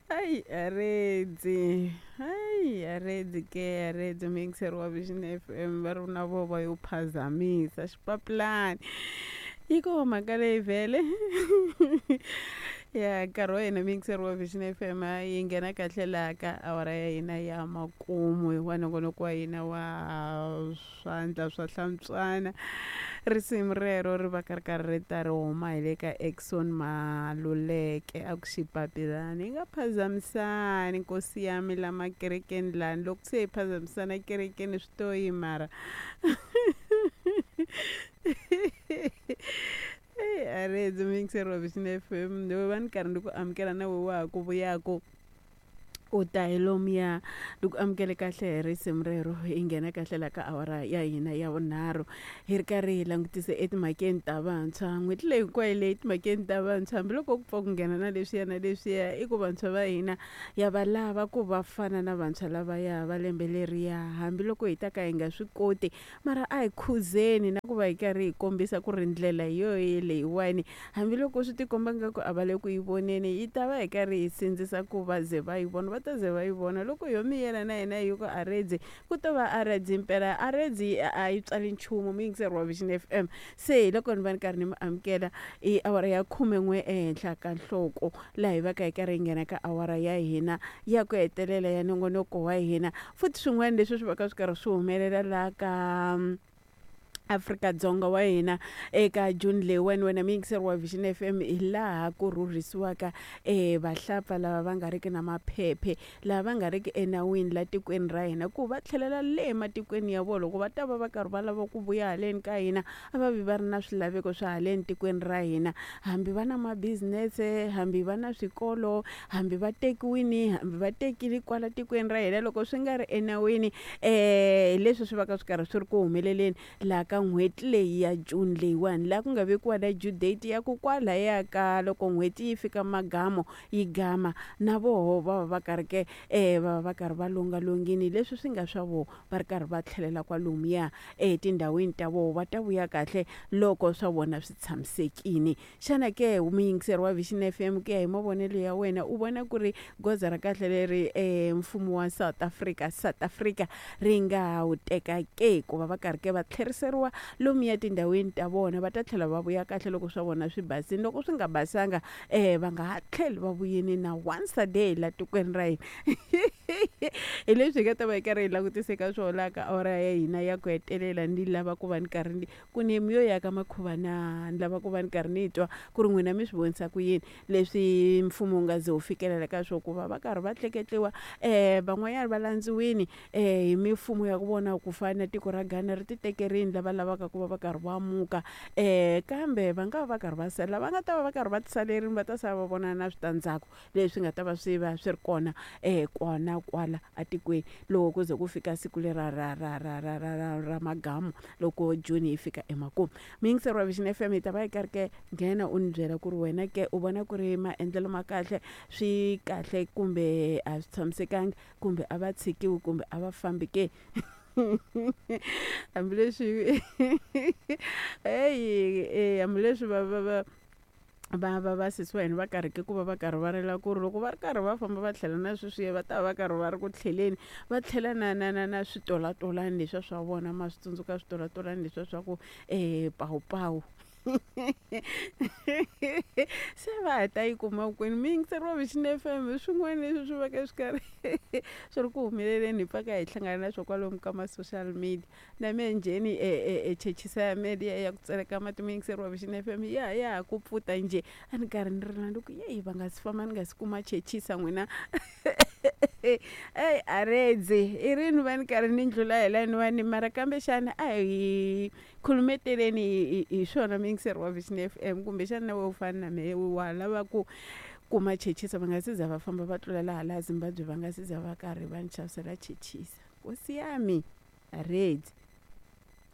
Hayi aredzi, hayi aredzi ke aredzi muyingiseri wa Vision F_M va ri na vo va yo phazamisa xipapulani yi koho mhaka leyi vhele ya nkarhi wa hina muyingiseri wa Vision F_M yi nghena kahle laha ka awara ya hina ya makumu wa nongonoko wa hina wa swandla swa hlantswana risimu rero ri va ka ri karhi ri ta ri huma hi le ka Exxon Maluleke a ku xipapilani hi nga phazamisani nkosi ya mi la makerekeni lani loko se hi phazamisana kerekeni swi to yi mara eyi a ri hedzi muyingiseri wa Vision F_M va ni karhi ni ku amukela na we wa ha ku vuyaku u ta hi lomuya ni ku amukele kahle hi risimu rero hi nghena kahle la ka awara ya hina ya vunharhu hi ri karhi hi langutise etimhakeni ta vantshwa n'hweti leyi hinkwayo leyi timhakeni ta vantshwa hambiloko ku pfa ku nghena na leswiya na leswiya i ku vantshwa va hina ya va lava ku va fana na vantshwa lavaya va lembe leriya hambiloko hi ta ka hi nga swi koti mara a hi khuzeni na ku va hi karhi hi kombisa ku ri ndlela hi yoho leyiwani hambiloko swi tikomba nga ku a va le ku yi voneni yi ta va hi karhi hi sindzisa ku va ze va yi vona va ta ze va yi vona loko yo miyela na hina hi ku aredzi ku to va aredzi impela aredzi a yi tswali nchumu muyingiseri wa Vision F_M se hi loko ni va ni karhi ni mi amukela i awara ya khumen'we ehenhla ka nhloko laha hi va ka hi karhi hi nghena ka awara ya hina ya ku hetelela ya nongonoko wa hina futhi swin'wana leswi swi va ka swi karhi swi humelela laha ka Afrika-Dzonga wa hina eka June leyiwani wena muyingiseri wa Vision F_M hi laha ku rhurhisiwaka vahlapfa lava va nga riki na maphephe lava va nga riki enawini la tikweni ra hina ku va tlhelela le ematikweni ya vona loko va ta va va karhi va lava ku vuya haleni ka hina a va vi va ri na swilaveko swa haleni tikweni ra hina hambi va na ma-business hambi va na swikolo hambi va tekiwini hambi va tekile kwala tikweni ra hina loko swi nga ri enawini hi leswi swi va ka swi karhi swi ri ku humeleleni laha ka n'hweti leyi ya June leyiwani laha ku nga vekiwa na due date ya ku kwalaya ka loko n'hweti yi fika magamo yi gama na voho va va va karhi ke va va va karhi va longalongini leswi swi nga swa voho va ri karhi va tlhelela kwalomuya etindhawini ta voho va ta vuya kahle loko swa vona swi tshamisekile xana ke muyingiseri wa Vision F_M ku ya hi mavonelo ya wena u vona ku ri goza ra kahle leri mfumo wa South Africa South Africa ri nga wu teka ke ku va va karhi ke va tlheriseriwa lomuya tindhawini ta vona va ta tlhela va vuya kahle loko swa vona swi basile loko swi nga basanga va nga ha tlheli va vuyini na once a day la tikweni ra hina hi leswi hi nga ta va hi karhi hi langutise ka swona laha ka awara ya hina ya ku hetelela ni lava ku va ni karhi ni ku ni yo ya ka makhuva na ni lava ku va ni karhi ni twa ku ri n'wina mi swi vonisa ku yini leswi mfumo wu nga ze wu fikelela ka swo ku va va karhi va tleketliwa van'wanyana va landziwini hi mifumo ya ku vona ku fana na tiko ra Ghana ri ti tekerini lava lavaka ku va va karhi va muka kambe va nga va va karhi va sala va nga ta va va karhi va tisalerini va ta sala va vona na switandzhaku leswi nga ta va swi va swi ri kona kona kwala atikweni loko ku ze ku fika siku lera ra ra ra ra ra ra ra magamu loko June yi fika emakumu muyingiseri wa Vision F_M hi ta va hi karhi ke nghena u ni byela ku ri wena ke u vona ku ri maendlelo ma kahle swi kahle kumbe a swi tshamisekanga kumbe a va tshikiwi kumbe a va fambi ke hambileswi heyi hambileswi va va va va va va sesi wa hina va karheke ku va va karhi va rila ku ri loko va ri karhi va famba va tlhela na sweswiya va ta va va karhi va ri ku tlheleni va tlhela na na na na switolatolani leswiya swa vona ma swi tsundzuka switolatolani leswiya swa ku pawupawu se va ha ta yi kuma kwini muyingiseri wa Vision F_M hi swin'wana leswi swi va ka swi karhi swi ri ku humeleleni hi pfa ka hi hlangana na swo kwalomu ka ma-social media na mehe njheni e chechisa ya mehe liya ya ku tseleka mati muyingiseri wa Vision F_M ya ya ha ku pfuta njhe a ni karhi ni rila ni ku yeyi va nga si famba ni nga si kuma chechisa n'wina eyi a redzi i rini va ni karhi ni ndlula hi laniwani mara kambe xana a hi khulumeteleni hi swona muyingiseri wa Vision F_M kumbexana na wehe u fana na mehe wa lava ku kuma chechisa va nga si za va famba va tlulela hala Zimbabwe va nga si za va karhi va ni xavisela chechisa nkosi yami a redzi.